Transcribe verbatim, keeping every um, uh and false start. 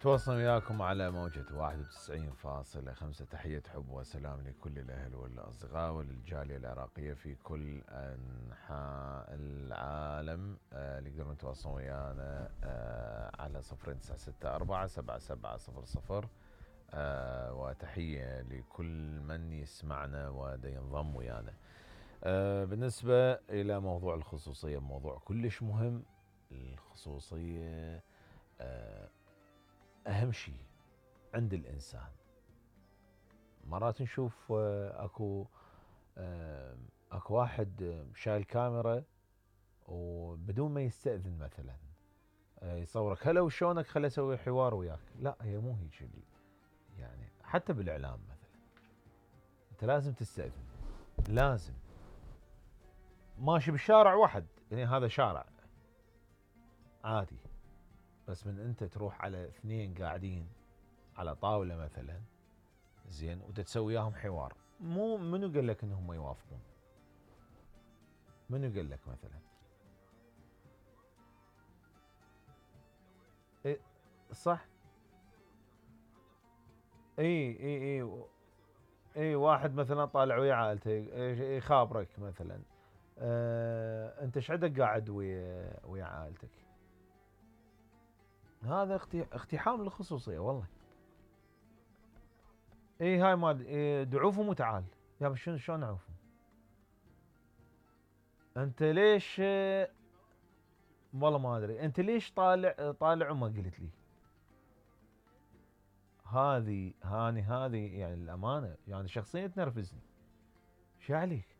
تواصل وياكم على موجة واحد وتسعين فاصلة خمسة. تحية حب وسلام لكل الأهل والأصدقاء وللجالية العراقية في كل أنحاء العالم. آه اللي يقدرون يتواصلون ويانا آه على صفر تسعة ستة أربعة سبعة سبعة صفر صفر. آه وتحية لكل من يسمعنا ودا ينضم ويانا. آه بالنسبة إلى موضوع الخصوصية، موضوع كلش مهم. الخصوصية آه أهم شيء عند الإنسان. مرات نشوف أكو أكو واحد شايل كاميرا وبدون ما يستأذن مثلا يصورك هلا وشونك خلي أسوي حوار وياك. لا، هي مو هيك. يعني حتى بالإعلام مثلا أنت لازم تستأذن، لازم. ماشي بالشارع واحد، يعني هذا شارع عادي، بس من أنت تروح على اثنين قاعدين على طاولة مثلا، زين، وتتسوي وياهم حوار، مو منو قال لك انهم ما يوافقون؟ منو قال لك مثلا؟ إيه صح. اي اي اي اي واحد مثلا طالع ويا عائلته يخابرك مثلا. اه انت ايش عندك قاعد ويا ويا عائلتك؟ هذا اقتحام للخصوصيه والله. اي هاي ما إيه دعوفهم وتعال. يا بس شنو شلون اعوفهم؟ انت ليش؟ والله ما ادري انت ليش طالع طالع وما قلت لي. هذه هاني هذه يعني الامانه يعني شخصيا تنرفزني. شو عليك؟